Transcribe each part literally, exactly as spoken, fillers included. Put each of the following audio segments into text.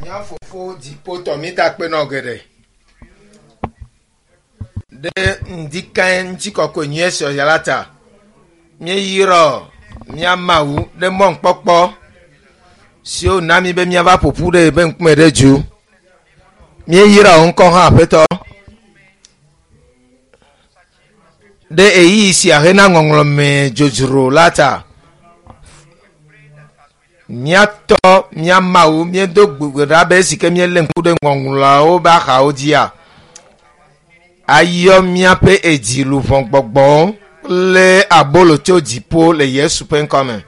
Mía fofo dziƒotɔ mi da kpe nɔ geɖe. Ɖe ŋdikae ŋutikɔkɔe nyuie sɔya la ta. Míeyrɔ mía Mawu ɖe mɔnukpɔkpɔ siwo na mí be míava ƒoƒu ɖe ebe ŋkume ɖe dzu. Míeyrɔ wò ŋkɔ hã aƒetɔ. Ɖe ɣeyiɣi sia hena ŋɔŋlɔme dzodzro la ta. Míatɔ mía Mawu míedo gbe ɖa be esi ke míelé ŋku ɖe ŋɔŋlɔawo ƒe axawo dzia, ayɔ míaƒe edzi luʋɔ gbɔgbɔwo kple abolo tso dziƒo le Yesu ƒe ŋkɔme.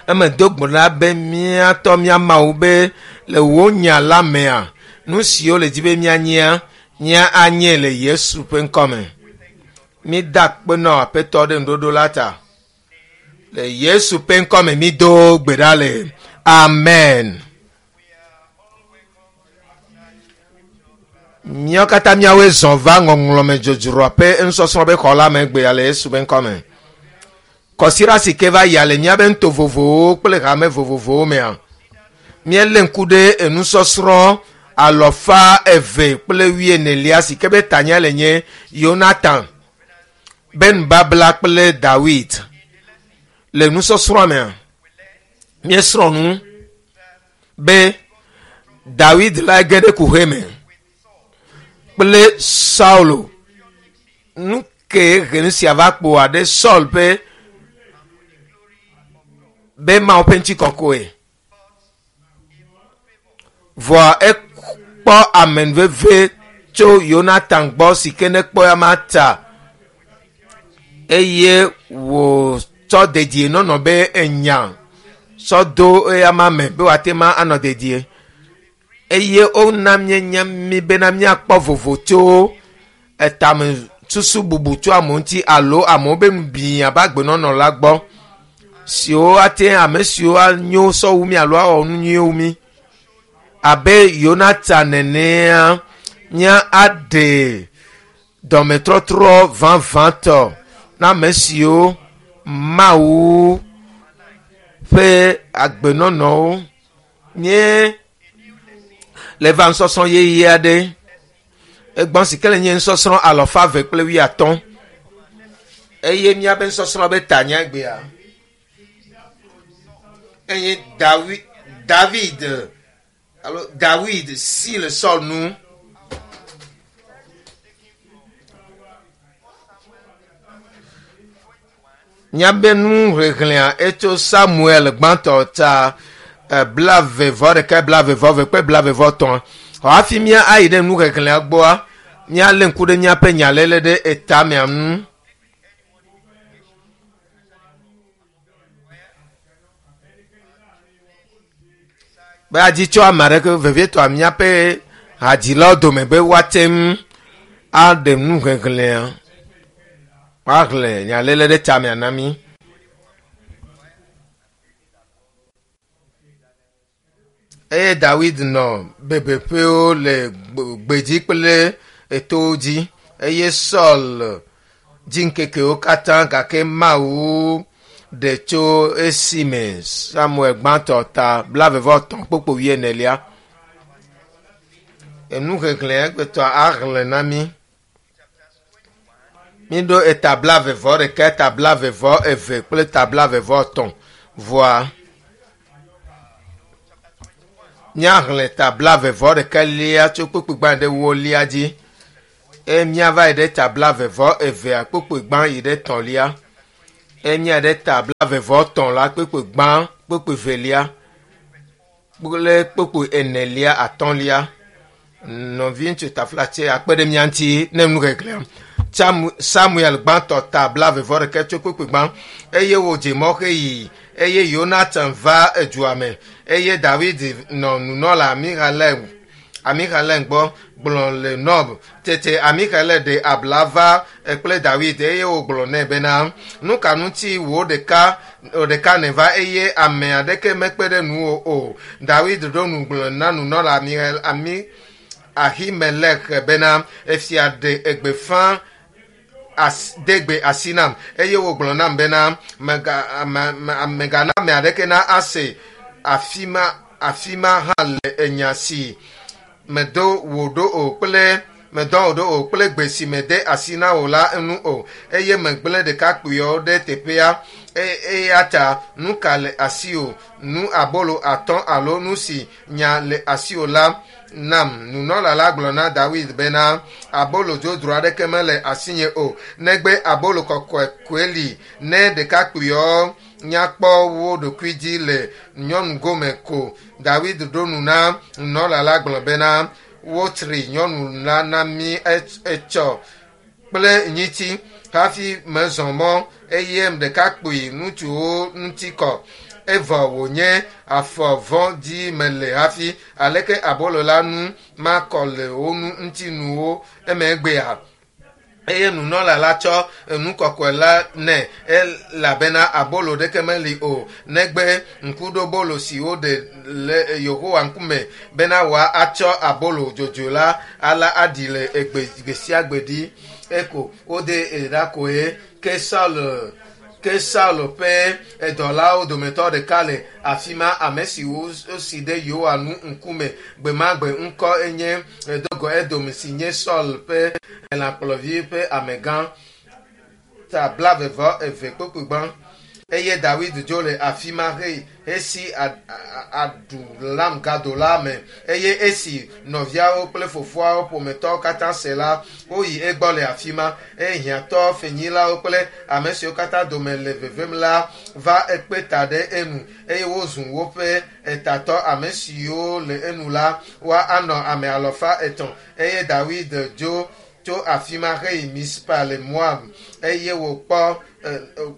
Eme do gbe ɖa be míatɔ mía Mawu be le wò nya la mea, nu siwo le dzi be míanyia, mía anye le Yesu ƒe ŋkɔme. Mída akpe nɔ aƒetɔ ɖe ŋuɖoɖo la ta. Le Yesu ƒe ŋkɔme mído gbe ɖa le. Amen. Míawo katã míawoe zɔ va ŋɔŋlɔme dzodzroa ƒe nusɔsrɔ̃ ƒe xɔ la me gbea le Yesu ƒe ŋkɔme. Kɔsiɖa si ke va yia le míaƒe nuto vovovowo kple hame vovovowo mea, míelé ŋku ɖe enusɔsrɔ̃ alɔfa eve kple wuienelia si ke be tanya le nye Yonatan be nubabla kple Dawid. Le nusɔsrɔ̃a mea, míesrɔ̃ nu be Dawid la ge ɖe kuxe me kple Saulo. Nu ke he nu sia va kpoa ɖe Saul ƒe be Mawu ƒe ŋutikɔkɔe. Vɔa ekpɔ amenuveve tso Yonatan gbɔ si ke nekpɔ ya ma ta eye wòtsɔ dedienɔnɔ be enya sɔ do eya ma me be wòate ma anɔ dedie. Eye wona míenya mí bena míakpɔ vovo tso etame susu bubu tso amewo ŋuti alo amewo be nubiã be agbenɔnɔ la gbɔ siwo ate ame siwo anyo sɔwu mí alo awɔ nu nyuiwo mí. Abe Yonatan nenea, mía aɖe dɔmetɔtrɔ vavãtɔ na ame siwo Mawu ƒe agbenɔnɔwo nye le va nusɔsrɔ̃ yeye aɖe. Egbɔ si ke le nye nusɔsrɔ̃ alɔfa eve kple wuiatɔ̃. Eye míaƒe nusɔsrɔ̃ be tanya egbea enye Dawi, David alo Dawid si le Saul nu. Míaƒe nuxexlẽa etso Samuel gbãtɔ ta blaeve vɔ ɖeka, blaeve vɔ eve kple blaeve vɔ etɔ̃. Xɔ hafi mía ayi ɖe nuxexlẽa gbɔa, míalé ŋku ɖe míaƒe nyaléle ɖe etamea ŋu. Be adzi tso ame aɖeke vevietɔ míaƒe hadzilawo dome be woate ŋu aɖe nuxexlẽa, woaxlẽ nyaléle ɖe tamea na mí. Eye Dawid nɔ bebeƒewo le gbedzi kple etowo dzi eye Saul dzi ŋkekewo katã gake Mawu ɖe tso esime Samuel gbãtɔ ta blaeve vɔ etɔ̃ kpokpo wuienelia. Enuxexlẽ egbetɔ axlẽ na mí. Míɖo eta blaeve vɔ ɖeka, eta blaeve vɔ eve kple eta blaeve vɔ etɔ̃ vɔa míaxlẽ ta blaeve vɔ ɖeka lia tso kpukpui gbã ɖe wolia dzi eye míava yi ɖe ta blaeve vɔ evea kpukpui gbã yi ɖe tɔ̃lia eye mía ɖe ta blaeve vɔ tɔ̃ la kpukpui gbã kpukpui velia kple kpukpui enelia atɔ̃lia. Nɔviŋutsu taflatse akpe ɖe mía ŋuti ne nuxexlẽa. Samuel gbãtɔ ta blaeve vɔ ɖeka tso kpukpui gbã eye wòdze mɔ heyi eye Yonatan va edua me eye Dawid nɔ nunɔla Amixalem gbɔ gblɔ le Nob. Tete Amixalem ɖe abla va kple Dawid eye wògblɔ nɛ bena nu ka ŋuti wò ɖeka wò ɖeka nèva eye ame aɖeke mekpe ɖe nuwò o. Dawid ɖo nu gblɔ na nunɔla Ami Ahimelek bena efia ɖe egbefa as, de gbe asi nam eye wògblɔ nam bena mega megana ame aɖeke na ase afi ma afi ma hã le enya si medo wò ɖo o kple medɔ wò ɖo o kple gbe si mede asi na wò la ŋu o eye megblẽ ɖekakpuiawo ɖe teƒea E- eya ta nu ka le asiwò nu abolo atɔ̃ alo nu si nya le asiwò la nam nunɔla la gblɔ na dawid bena abolo dzodzro aɖeke mele asinye o negbe abolo kɔkɔe koe li ne ɖekakpuiawo nyakpɔ wo ɖokui dzi le nyɔnu gome ko dawid ɖo nu na nunɔla la gblɔ bena wotri nyɔnu la na mí etsɔ kple nyitsi hafi mezɔ mɔ eye ɖekakpui ŋutsuwo ŋuti kɔ evɔ wònye afɔ vɔ̃ dzi mele hafi aleke abolo la nu makɔ le wo nu ŋutinuwo emegbea eye nunɔla la tsɔ enu kɔkɔe la nɛ elabena abolo ɖeke meli o negbe ŋkuɖobolo si woɖe le yehowa ŋkume bena wòatsɔ abolo dzodzo la ala aɖi le egbe gbe sia gbe ɖi eko wode ɖa koe ke saul ke saul ƒe edɔlawo dometɔ ɖeka le afi ma ame si wosi ɖe yehowa nu ŋkume gbe ma gbe ŋkɔ enye edogo edom si nye saul ƒe elãkplɔvi ƒe amegã ta blavevɔ eve kpokpogbã eye dawid dzo le afi ma he esi adulam gado la me eye esi nɔviawo kple fofoawo ƒometɔwo katã se la woyi egbɔ le afi ma eye hiãtɔ fenyilawo kple ame siwo katã dome le vevem la va ekpe ta ɖe enu eye wozu woƒe etatɔ ame siwo le enu la woa anɔ ame alafa etɔ̃ eye dawid dzo tso afi ma heyi mispa le moab eye wòkpɔ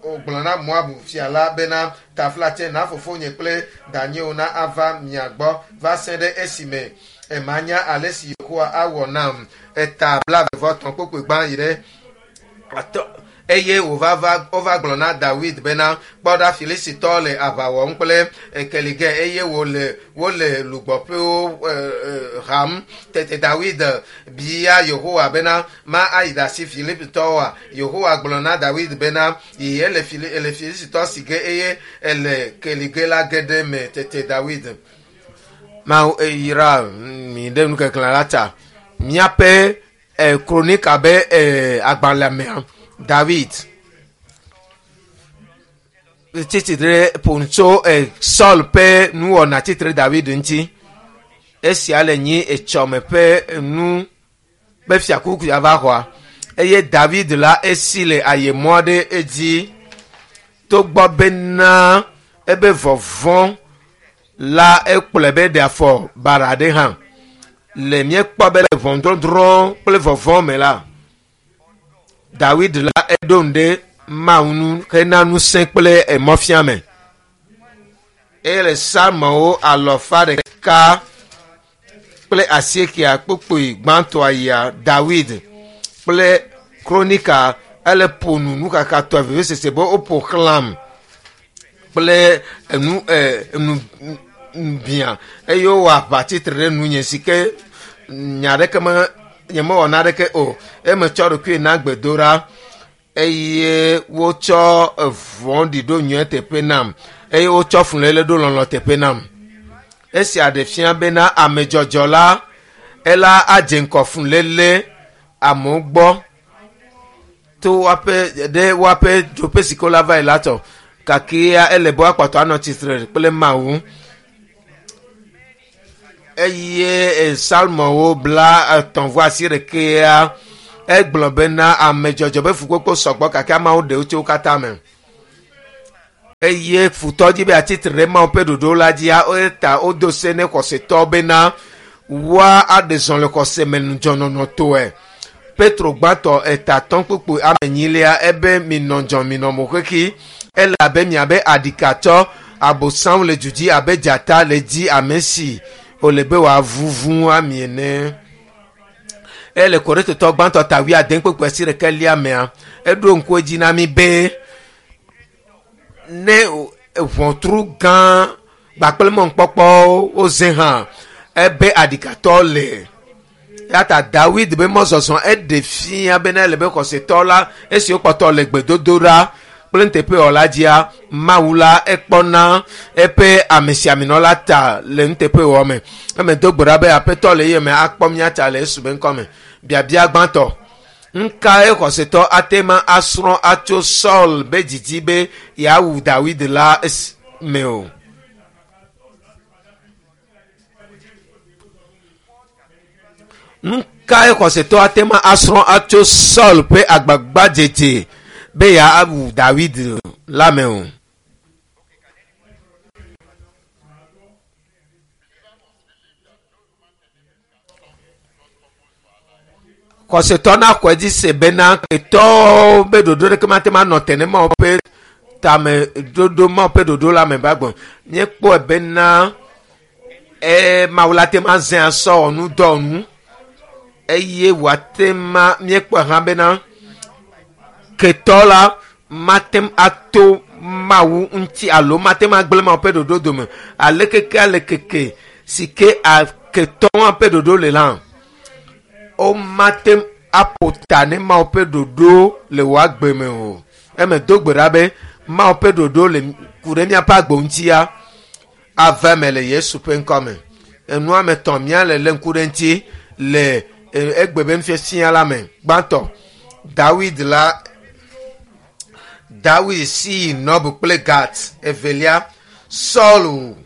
wògblɔ na moab fia la bena taflatse na fofonye kple danyewo na ava mia gbɔ va se ɖe esime emanya ale si yehowa awɔ nam eta blavevɔtɔ̃ kpokpoe gbã yi ɖe atɔ eye wòva va wova gblɔ na dawid bena kpɔ ɖa filisitɔ le aʋa wɔm kple ekelige eye wòle wole lugbɔƒewo e, e, ham tete dawid bia yehowa bena ma ayi ɖe asi filipitɔwoa yehowa gblɔ na dawid bena yi ele fili ele filisitɔ si ge eye ele kelige la ge ɖe me tete dawid mawu eyra mi ɖe nukeklẽ la ta míaƒe e, kronika be e, agbalẽ mea david tsitre ƒo nu tso e, saul ƒe nuwɔna tsitre david ŋuti esia le nyi etsɔme ƒe nu ƒe fiakuku ya va xɔa eye david la esi le ayemɔ aɖe edzi togbɔ bena ebe vɔvɔ̃ la ekplɔe be ɖe afɔ bara ɖe hã le míekpɔ be le ʋɔnudɔdrɔ̃ kple vɔvɔ̃ me la dawid la eɖo nu ɖe mawu nu hena ŋusẽ kple emɔfiame eye le salmowo alɔfa ɖeka kple asiekea kpokpoe gbãtɔa yia dawid kple kronika ele ƒo nu nukakatɔe vevesese be woƒo xlãm kple enu ɛ enu bia eye wowɔ aʋa tsitre ɖe nunye si ke nya ɖeke me nyemewɔ naɖeke o eme tsɔ ɖokui na gbedoɖa eye wotsɔ vɔ̃ɖi ɖo nyuie teƒe nam eye wotsɔ fuléle ɖo lɔlɔ teƒe nam esia ɖe fia bena amedzɔdzɔ la ela adze ŋkɔ fuléle amewo gbɔ to woaƒe ɖe woaƒe dzoƒe si ke wola va yi la tɔ gake ya ele be woakpɔtɔ anɔ tsitre kple mawu eye salmowo bla etɔ̃ vɔ asi ɖekea egblɔ bena amedzɔdzɔ be fukpekpe sɔgbɔ gake ameawo ɖewo tso wo katã me eye futɔ dzi be atsitre ɖe mawu ƒe ɖoɖo la dzia eta wodo se ne xɔsetɔ bena woa aɖe zɔ le xɔse me ŋudzɔnɔnɔtɔe petro gbãtɔ etatɔ̃ kpukpu ame enyilia ebe minɔ dzɔ minɔ mo xexi ele abe miabe aɖikatsɔ abosaŋ le du dzi abe dzata le dzi ame si wòle be wòavuvu ami ene ele korintotɔ gbãtɔ ta wuiade kpukpu asi ɖeke lia mea eɖo ŋku edzi na mi be ne ʋɔtru gã gbakple mɔnukpɔkpɔwo woze hã ebe aɖikatɔ le eya ta dawid be mɔzɔzɔ eɖe fia bena ele be xɔsetɔ la esi wokpɔtɔ le gbedodoɖa kple nuteƒewɔla dzia mawu la ekpɔna eƒe amesiaminɔ la ta le nuteƒewɔ me eme do gbe ɖa be aƒetɔ le ye me akpɔ mía ta le Yesu be ŋkɔ me biabia gbãtɔ nkae xɔsetɔ ate ma asrɔ̃ atso Saul be didi be yeawu Dawid la me o. Nukae xɔsetɔ ate ma asrɔ̃ atso Saul ƒe agbagbadzedze be yeawu Dawid la me o. Xɔsetɔ na xɔe dzi se bena ketɔwo be ɖoɖo ɖeke mate ma nɔ te ne Mawu ƒe tame ɖoɖo Mawu ƒe ɖoɖo la me va gbɔ. Míekpɔe bena e Mawu la te ma zẽ asɔ wɔ nu dɔ nu eye wòate ma míekpɔe hã bena ketɔ la mate ato Mawu ŋuti alo mate ma gblẽ Mawu ƒe ɖoɖo dome ale keke ale keke si ke ketɔ hã ƒe ɖoɖo le la womate aƒo ta ne Mawu ƒe ɖoɖo le wò agbe me o. Eme do gbe ɖa be Mawu ƒe ɖoɖo le ku ɖe míaƒe agbe ŋutia ava eme le Yesu ƒe ŋkɔ me. Enua me tɔ̃ mía le lé ŋku ɖe ŋuti le egbe be nufiafia la me. Gbãtɔ, Dawid la Dawid si yi Nob kple Gat. Evelia, Saul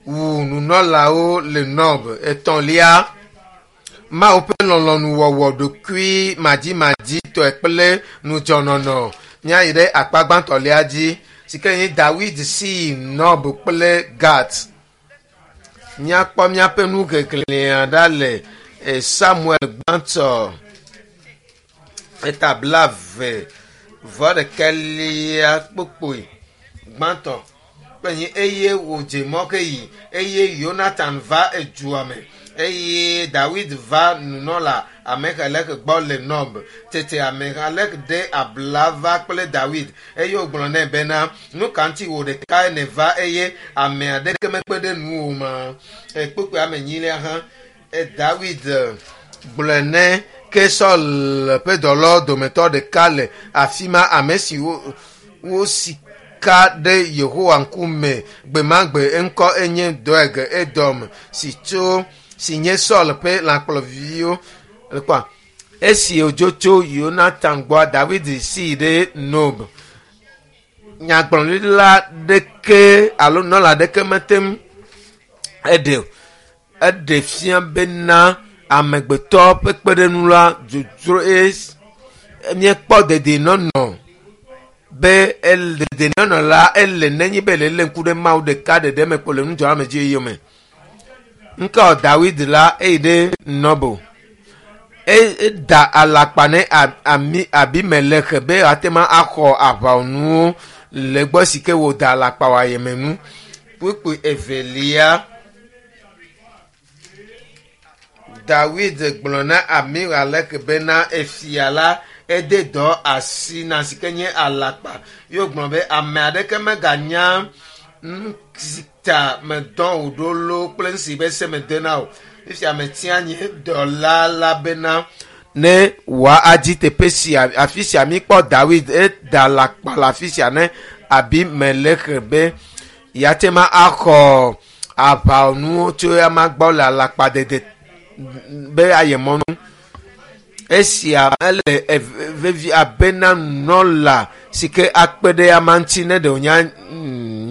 wu nunɔlawo le Nob. Etɔ̃lia, Mawu ƒe lɔlɔ̃nuwɔwɔ ɖokui madzimadzi-tɔe kple ŋudzɔnɔnɔ. Míayi ɖe akpa gbãtɔlia dzi si ke nye Dawid si yi Nob kple Gat. Míakpɔ míaƒe nuxexlẽa ɖa le Samuel gbãtɔ eta blaeve vɔ ɖekɛlia kpokpoe gbãtɔ kple nye eye wòdze mɔ ke yi eye Yonatan va edua me eye Dawid va nunɔla Ahimelek gbɔ le Nob. Tete Ahimelek ɖe abla va kple Dawid eye wògblɔ nɛ bena nu ka ŋuti wò ɖekae nèva eye ame aɖeke mekpe ɖe nuwò ma. Kpukpui ame enyilia hã Dawid gblɔe ne ke Saul ƒe dɔlawo dometɔ ɖeka le afi ma ame si wosi ka ɖe Yehowa ŋkume gbemagbe eŋkɔ enye Doeg Edom si tso si nye Saul ƒe lãkplɔviwo kpɔa. Esi wòdzo tso Yonatan gbɔa Dawid si ɖe Nob. Nyagblɔɖila ɖeke alo nɔla ɖeke mete ŋu eɖe o. Eɖe fia bena amegbetɔ ƒe kpeɖeŋu la dzodzro míekpɔ dedienɔnɔ be dedienɔnɔ la ele nenye be le lé ŋku ɖe Mawu ɖeka ɖeɖe me kpo le nudzɔname yome. Ŋkɔ Dawid la eyi ɖe Nob. Eda alakpa ne ami Abimelek be ate ma axɔ aʋawɔnuwo le gbɔ si ke wòda alakpa wɔ ayemenu. Kpukpui evelia. Dawid gblɔ na Ahimelek bena efia la ede dɔ asi na si ke nye alakpa. Ye wògblɔ be ame aɖeke meganya nu si ta medɔ wò ɖo loo kple nu si be se mede na o. Fifia metia nye dɔla la bena ne wòadzi teƒe sia afi sia míkpɔ Dawid eda alakpa le afi sia ne Abimelek be yeate ma axɔ aʋawɔnuwo tso ama gbɔ le alakpadede be ayemɔnu. Esia ele vevi abena nunɔla si ke akpe ɖe ama ŋuti ne ɖe wònya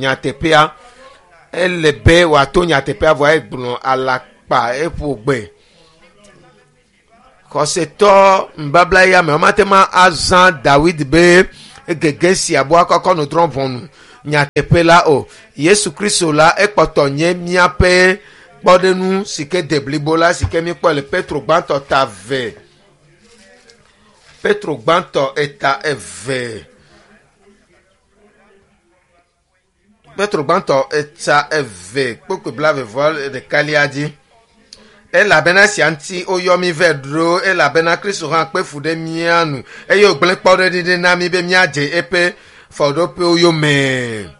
nyateƒea. Ele be wòato nyateƒea vɔa egblɔ alakpa eƒo gbe. Xɔsetɔ nubabla ya me womate ma azã Dawid be gege sia bo akɔkɔ nu drɔ̃ ʋɔnu nyateƒe la o. Yesu Kristo la ekpɔtɔ nye míaƒe kpɔɖeŋu si ke de blibo la si ke míekpɔ le Petro gbãtɔ ta eve. Petro gbãtɔ eta eve. Petro gbãtɔ eta eve kpokpoe blaeve vɔ ɖekalia dzi. Elabena sia ŋuti woyɔ mí vɛ ɖo elabena Kristo hã kpe fu ɖe mía nu eye wògblẽ kpɔɖeŋu ɖi na mí be míadze eƒe fɔɖoƒewo yome.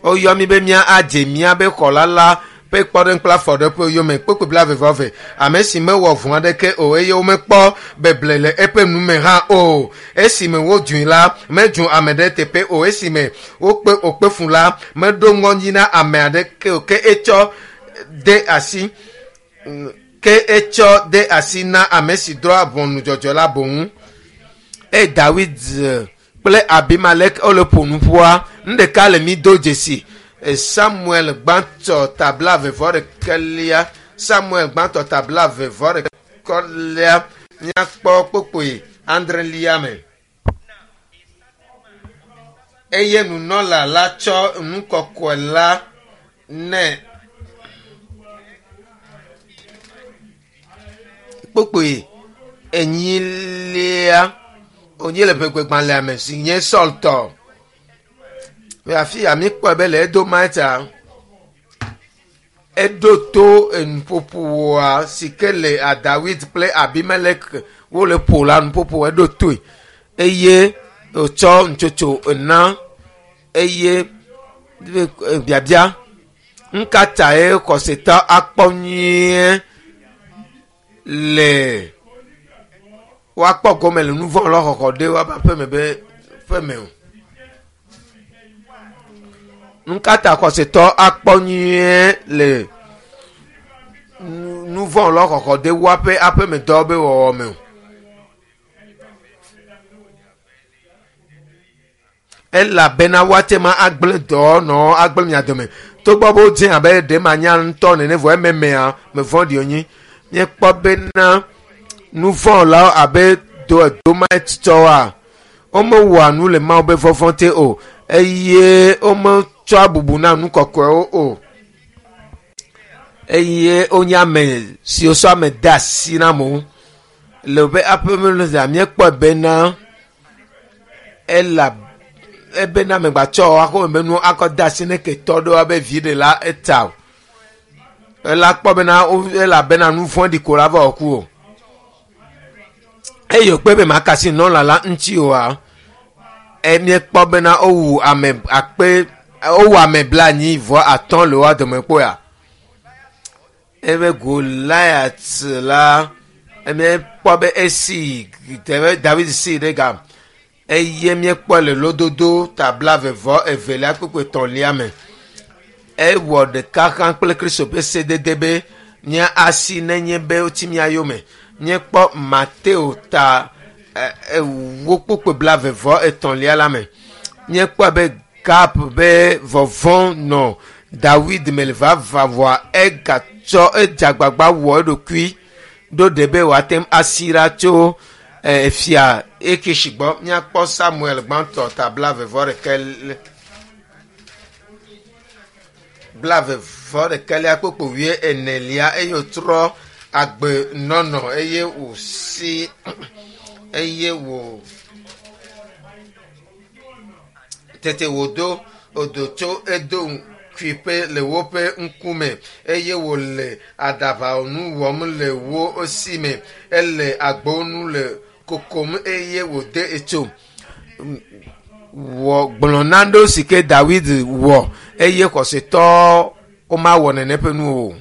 Woyɔ mí be míadze míaƒe xɔla la Ƒe kpɔɖeŋu kple afɔɖeƒe yome kpekpe blaeve-vɔ-eve. Ame si mewɔ vɔ̃ aɖeke o eye womekpɔ beble le eƒe nume hã o. Esime wodzui la, medzu ame ɖe teƒe o. Esime wokpe wòkpe fu la, meɖo ŋɔdzi na ame aɖeke o. Ke etsɔ de asi ke etsɔ de asi na ame si drɔ̃a ʋɔnu dzɔdzɔe la boŋ. Eye Dawid kple Abimelek wole ƒo nu ƒua, nu ɖeka le mi do dzesi. Samuel gbãtɔ ta blaeve-vɔ-ɖekɛlia Samuel gbãtɔ ta blaeve-vɔ-ɖekɛlia míakpɔ kpokpoe adrelia me. Eye nunɔla la tsɔ nu kɔkɔe la nɛ kpokpoe enyilia wònye le ʋegbegbalẽa me si nye Saul tɔ. Afi ya míekpɔe be le Edomita eɖo to enuƒoƒoa si ke le Dawid kple Abimelek wole ƒo la nuƒoƒo eɖo toe eye wòtsɔ nutsotso na eye biabia nu ka tae xɔsetɔ akpɔ nyuie le woakpɔ gome le nu vɔ̃ lɔ xɔxɔ ɖe woaƒe aƒeme be ƒeme o. Nu ka ta xɔsetɔ akpɔ nyuie le nu vɔ̃ lɔ xɔxɔ ɖe woaƒe aƒemedɔ be wɔwɔ me o. Elabena woate ma agblẽ dɔ nɔ agblẽ mia dome. Togbɔ be wodze abe ɖe manya ŋutɔ nene vɔ ememea me vɔ̃ɖi wonyi. Míekpɔ bena nu vɔ̃ la abe do Edomitɔwoa, womewɔa nu le Mawu be vɔvɔ̃ te o eye wometsɔa bubu na nu kɔkɔewo o. Eye wonye ame siwo sɔ ame de asi na amewo. Le woƒe aƒemenɔzea míekpɔe bena ela ebena amegbetsɔ akɔ be nu akɔ de asi ne ketɔ ɖewo abe vi ɖe la eta o. Ela kpɔ bena elabena nu vɔ̃ɖi ko la va wɔ ku o. Eye wòkpe be makasi nɔla la ŋuti oa, míekpɔ bena wowu ame akpe wowu ame blaenyi vɔ atɔ̃ le woa dome kpɔa. Ebe Goliat la míekpɔ be esi David si ɖe ga eye míekpɔ le lododo ta blaeve vɔ evelia kpukpui etɔ̃lia me. Ewɔ ɖeka hã kple Kristo ƒe sedede be mía asi nenye be wotsi mía yome. Míekpɔ Mateo ta ewo kpukpui blaeve vɔ etɔ̃lia la me. Míekpɔ be Gab be vɔvɔ̃ nɔ Dawid me le vava vɔa egatsɔ edze agbagba wɔ eɖokui ɖo ɖe be wòate ŋu asi ɖa tso efia Akish gbɔ. Míakpɔ Samuel gbãtɔ ta blaeve vɔ ɖekɛ blaeve vɔ ɖekɛlia kpukpui wui enelia eye wòtrɔ agbenɔnɔ eye wòsi eye wò tete wòdo wòdo tso Edom ƒe le woƒe ŋkume eye wòle aɖaʋanu wɔm le wo si me. Ele agbonu le kokom eye wòde etso. Wɔ gblɔ nanewo si ke Dawid wɔ eye xɔsetɔ womawɔ nene ƒe nu o.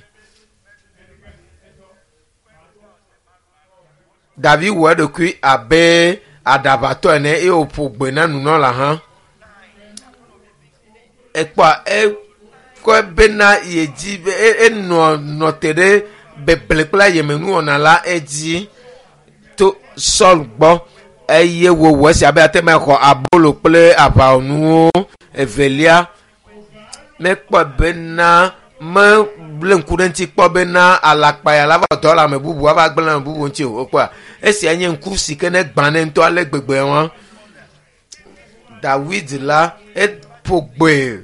David wɔ eɖokui abe aɖaʋatɔ ene eye wòƒo gbe na nunɔla hã. Ekpɔa ekɔe bena yedzi be enɔ nɔ te ɖe beble kple ayemenuwɔna la edzi to Saul gbɔ eye wòwɔ esia be ate ma xɔ abolo kple aʋawɔnuwo. Evelia, mekpɔ bena meble ŋku ɖe ŋuti kpɔ bena alakpa ya la va dɔ le ame bubu ava gblẽ ame bubu ŋuti o. Wokpɔa esia nye ŋku si ke ne gbã ne ŋutɔ ale gbegbe wa. Dawid la eƒo gbe